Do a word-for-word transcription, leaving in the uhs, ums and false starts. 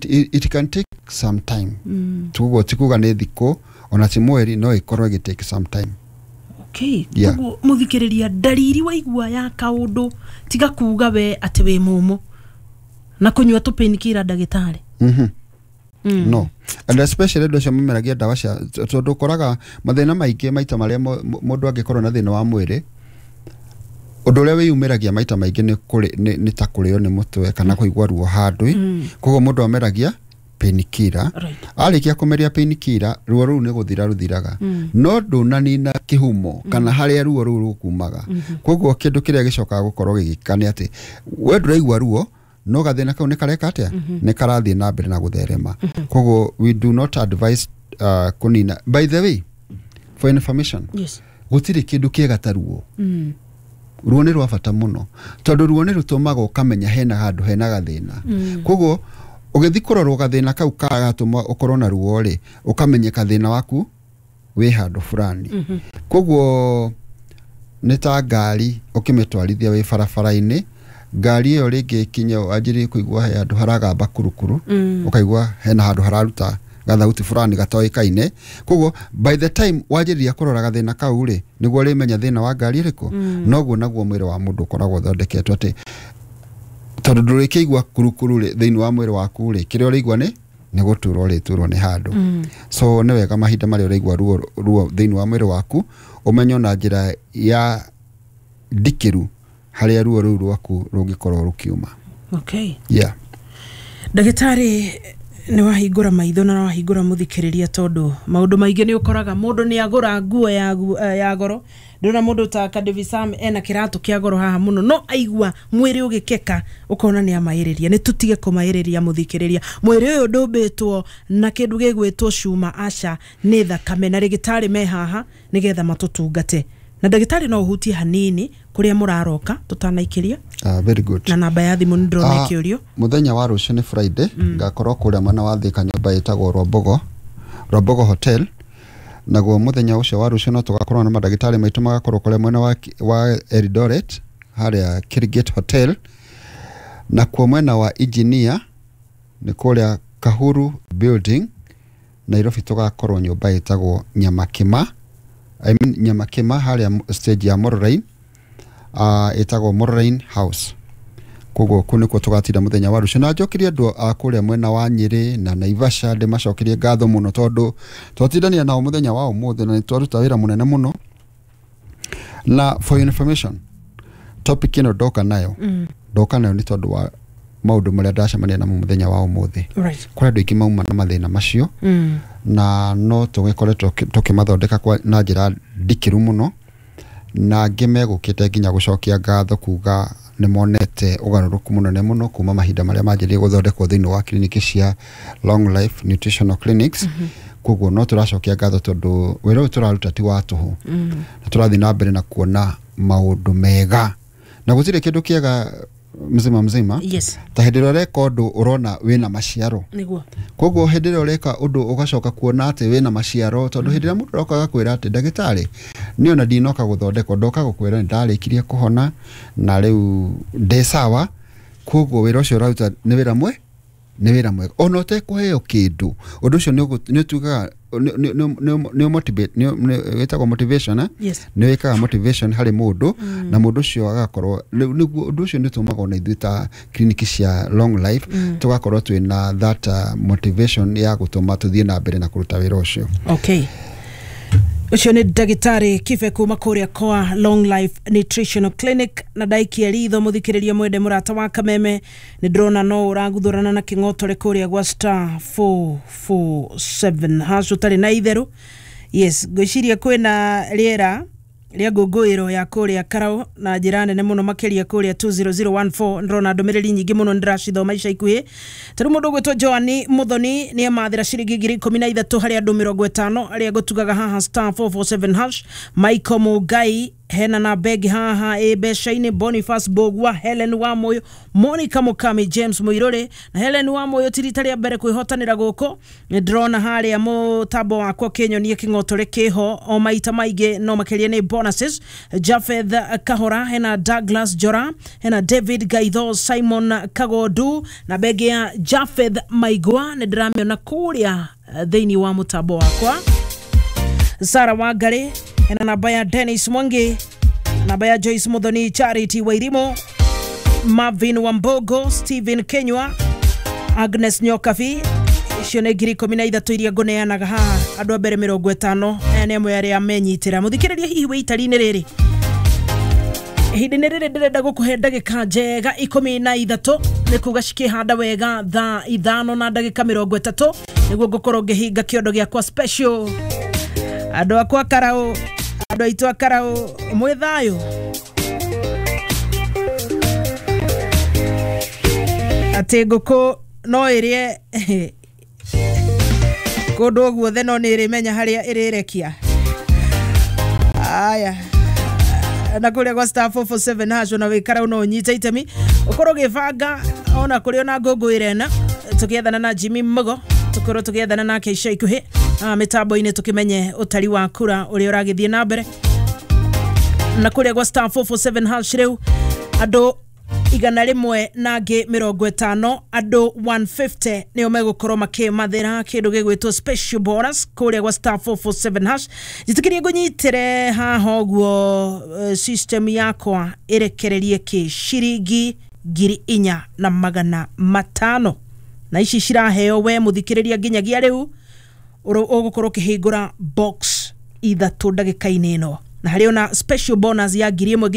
it, it, it can take some time. mm. Tuguo ti kuga nĩ thikũ ona ti mweri, no ĩkorwo ĩgĩ take some time. Okay. Yeah. Koguo muthikiriria, ndariri waigua ya kaundu, tiga kuga we ati wi mumu na kunyua tu painkiller, ndagĩtarĩ. mm -hmm. Mm. No, and especially andũ acio mameragia ndawa cia, tondũ ũkoraga mathĩna maingĩ maita marĩa mũndũ angĩkorwo na thĩna wa mwĩrĩ, ũndũ ũrĩa wĩyumĩragia maita maingĩ nĩ kũrĩ- nĩ nĩ ta kũrĩo nĩ mũtwe kana kũigua ruo handũ. mm. Koguo mũndũ ameragia painkiller. Right. Arĩkia kũmeria painkiller, ruo rũu nĩ gũthira rũthiraga, no ndũnanina kĩhumo kana harĩa ruo rũu rũkumaga. Koguo kĩndũ kĩrĩa gĩcokaga gũkorwo gĩgĩka nĩ atĩ we ndũraigua ruo, no gathĩna kau nĩ kareka atĩa, nĩ karathiĩ na mbere na gũtherema. Koguo we do not advise uh, kũnina. By the way, for information, yes gũtirĩ kĩndũ kĩega ta ruo. mm. Ruo nĩ rwa bata mũno, tondũ ruo nĩ rũtũmaga ũkamenya hena handũ hena gathĩna. Koguo ũgĩthiĩ kũrorwo gathĩna kau kagatũma ũkorwo na ruo rĩ, ũkamenyeka thĩna waku wĩ handũ fulani. Koguo nĩ ta ngari ũkĩmĩtwarithia wĩ barabara-inĩ, ngari ĩyo rĩngĩ ĩkinye wanjĩrĩrie kũigua he handũ haragamba kurukuru, Mm. ũkaigua hena handũ hararuta gathauti fulani gatoĩkaine. Koguo by the time wanjĩrĩria kũrora gathĩna kau rĩ, nĩguo ũrĩmenya thĩna wa ngari ĩrĩkũ. Noguo naguo mwĩrĩ wa mũndũ ũkoragwo ũthondeketwo, atĩ tondũ ndũrĩkĩigua kurukuru rĩ thĩinĩ wa mwĩrĩ waku rĩ, kĩrĩa ũrĩigua nĩ nĩ gũturwo ũrĩturwo nĩ handũ. Mm. So nĩ wega mahinda marĩa ũraigua ruo ruo thĩinĩ wa mwĩrĩ waku, ũmenye na njĩra ya ndikĩru harĩa ruo rũu rwaku rũngĩkorwo rũkiuma. Okay. Yeah. Ndagĩtarĩ, nĩ wahingũra maitho na wahingũra mũthikĩrĩria, tondũ maũndũ maingĩ nĩ ũkoraga mũndũ nĩ agũra nguo ya, gu- eh, ya goro. Ndĩrona mũndũ ta Kadevi Sam ena kĩratũ kĩa goro haha mũno, no aigua mwĩrĩ ũgĩkeka ũkona nĩ amaĩrĩria. Nĩ tũtige kũmaĩrĩria, mũthikĩrĩria. Mwĩrĩ ũyũ ndũmbĩtwo na kĩndũ gĩgwĩtwo cuma, aca, nĩ thakame na rĩgĩtarĩ me haha nĩgetha matũtungate. Na ndagĩtarĩ, no ũhutie hanini kũrĩa mũraroka tũtanaikĩria? uh, very good. Na namba ya thimũ nĩ ndĩrona Ah, ĩkĩũrio. Mũthenya wa rũciũ nĩ Friday, ngakorwo kũrĩa mwena wa Thika, nyũmba ĩtagwo Rwambogo, Rwambogo Hotel. Naguo mũthenya ũcio wa rũciũ no tũgakorwo na mandagĩtarĩ maitũ magakorwo kũrĩa mwena wa, wa Eldoret, harĩa Kirigate Hotel. Nakuo mwena wa Engineer nĩ kũrĩa Kahuru Building. Nairobi tũgakorwo nyũmba ĩtagwo Nyamakima, I mean Nyamakima, harĩa stage ya Mororain, uh, ĩtagwo Mororain House. Koguo kũu nĩkuo tũgatinda mũthenya wa rũciũ. Na njokerie andũ a kũrĩa mwena wa Nyĩrĩ na Naivasha, ndĩmacokerie ngatho mũno, tondũ twatindania nao mũthenya wa ũmũthĩ na nĩ twaruta wĩra mũnene mũno. Na for your information, topic ĩno ndoka nayo, mm. ndoka nayo nĩ tondũ wa maũndũ marĩa ndacemania namo mũthenya wa ũmũthĩ. right Kũrĩ andũ aingĩ mauma na mathĩna macio, mm. na no tũgĩkoretwo tũkĩmathondeka kwa- na njĩra ndikĩru mũno, na angĩ megũkĩte nginya gũcokia ngatho kuga nĩ monete ũgarũrũku mũnene mũno kuma mahinda marĩa manjĩrĩirie gũthondekwo thĩinĩ wa kiriniki cia Long Life Nutritional Clinics. Koguo no tũracokia ngatho, tondũ wĩra ũyũ tũraruta ti wa tũhũ, Mm. na tũrathiĩ na mbere na kuona maũndũ mega, na gũtirĩ kĩndũ kĩega mzima mzima yes ta hĩndĩ ĩrĩa ũreka ũndũ ũrona wĩna maciaro. Nĩguo. Koguo hĩndĩ ĩrĩa ũreka ũndũ ũgacoka kuona atĩ wĩna maciaro, tondũ hĩndĩ ĩrĩa mũndũ aroka agakwĩra atĩ, "Ndagĩtarĩ, niĩ ona ndinoka gũthondekwo, ndoka gũkwĩra nĩ ndarĩkirie kũhona na rĩu ndĩ sawa," koguo wĩra ũcio ũraruta nĩ wĩra mwe nĩ wĩra mwega ona ũtekũheo kĩndũ. Ũndũ ũcio nĩ ũgũ- nĩ ũtugaga nĩ- nĩ- nĩ- nĩ motivate, nĩ nĩ- wĩtagwo motivation, eh? Yes. Nĩ wĩkaga motivation harĩ mũndũ, na mũndũ ũcio agakorwo rĩu nĩguo ũndũ ũcio nĩ ũtũmaga ona ithuĩ ta kiriniki cia Long Life tũgakorwo twĩna that uh, motivation ya gũtũma tũthiĩ na mbere na kũruta wĩra ũcio. Okay, ũcio nĩ ndagĩtarĩ Kibe kuma kũrĩa kwa Long Life Nutritional Clinic. Na ndaikia ritho, mũthikĩrĩria mwende, mũrata wa Kameme, nĩ ndĩrona no ũraguthũrana na kĩng'otore kũrĩa gwa star four four seven hash ũtarĩ na itherũ. Yes, ngwĩciria kwĩna rĩera rĩa ngũngũĩro ya kũrĩa Karau na njĩra nene mũno makĩria kũrĩa two zero zero one four. Ndĩrona ndũmĩrĩri nyingĩ mũno, nĩndĩracithoma ica ikuhĩ. Ta rĩu mũndũ ũgwĩtwo Joani Muthoni nĩ amathĩra ciringi ngiri ikũmi na ithatũ harĩ andũ mĩrongo ĩtano arĩa ngũtugaga haha star four four seven hash. Michael Mugai. Hena na begi haha ĩ mbeca-inĩ: Boniface Bogwa, Helen Wamoyo, Monica Mukami, James Muiruri. Na Helen Wamoyo ti rita rĩa mbere kwĩhotanĩra gũkũ. Nĩ ndĩrona harĩa mũtambo wakwa kĩnyonie kĩng'otore kĩho o maita maingĩ, no makĩria nĩ bonuses. Jafeth Kahora, hena Douglas Jora, hena David Gaitho, Simon Kagondu na begi ya Jafeth Maigua nĩ ndĩramĩona kũrĩa eh, thĩinĩ wa mũtambo wakwa. Sara Wangari, hena namba ya Dennis Mwangi, namba ya Joyce Muthoni, Charity Wairimo, Marvin Wambogo, Stephen Kenywa, Agnes Nyokabi. Icio nĩ ngiri ikũmi na ithatũ iria ngũneanaga haha andũ a mbere mĩrongo ĩtano. Aya nĩ amwe arĩa menyitĩra. Mũthikĩrĩria, hihi wĩ itari-inĩ rĩrĩ, ihinda-inĩ rĩrĩ ndĩrenda gũkũhe ndagĩka njega ikũmi na ithatũ, nĩ kuga cikĩhanda wega thaa ithano na ndagĩka mĩrongo ĩtatũ, nĩguo ngũkorwo ngĩhinga kĩondo gĩakwa special. Andũ akwa karaũ, andũ aitũ a karaũ, mwĩ thayũ? Atĩ ngũkũ no ĩrĩe kũndũ guothe, no nĩ ĩrĩmenya harĩa ĩrĩrekia. Aya, na kũrĩa gwa star four four seven hash, ona wĩ no ũnyite itemi ũkorwo ũgĩbanga ona kũrĩ ona ngũngũĩra ĩna tũgĩethana na Jimmy Mugo, tũkorwo tũgĩethana nake ica ikuhĩ ah, mĩtambo-inĩ, tũkĩmenye ũtari wa kura ũrĩa ũragĩthiĩ na mbere. Na kũrĩa gwa star four four seven hash rĩu andũ igana rĩmwe na angĩ mĩrongo ĩtano, andũ igana rĩmwe na mĩrongo ĩtano nĩo megũkorwo makĩmathĩra kĩndũ gĩgwĩtwo special bonus kũrĩa gwa star four four seven hash. Njĩtĩkĩrie ngũnyitĩre haha ũguo, eh, system yakwa ĩrekererie kĩ ciringi ngiri inya na magana matano, na ici ciraheo we mũthikĩrĩria nginyagia rĩu ũgũkorwo ũkĩhingũra box ithatũ ndagĩka-inĩ ĩno, na harĩ ona special bonus ya ngiri ĩmwe.